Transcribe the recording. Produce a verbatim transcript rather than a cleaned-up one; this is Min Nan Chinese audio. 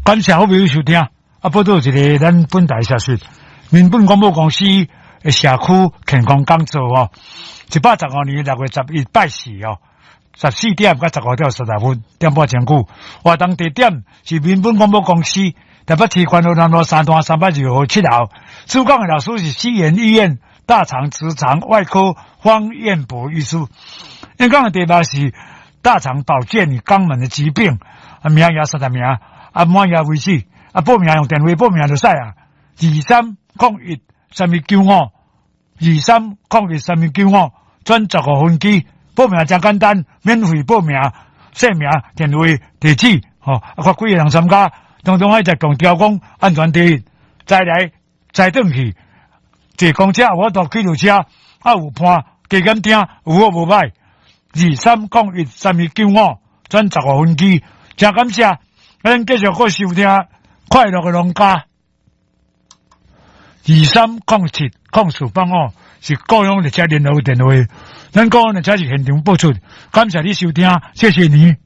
感謝好朋友收聽。啊，報導一个咱本台消息，民本廣播公司的社區健康講座哦，一百十五年六月十一拜四哦，十四點到十五點三十分，點半鐘久。活動地點是民本廣播公司台北市觀河南路三段三百二號七樓。主講的老師是西研醫院大腸直腸外科方彥博醫師。演講的題目是大腸保健與肛門的疾病，啊，名額三十名，啊，滿額為止，啊，報名用電話報名就使啊，二三空一三一九五，二三空一三一九五，轉十五分機，報名真簡單，免費報名，姓名、電話、地址，吼，啊，看幾个人參加，當中愛再強調講安全第一，再來再轉去，坐公車有法度開著車，啊有伴加減聽，有好無歹。二三空一三一九五，轉十五分機，真感謝，咱繼續閣收聽快樂的農家。二三空七空四八五是高雄列車聯絡電話，咱高雄列車是現場播出，感謝你收聽，謝謝你。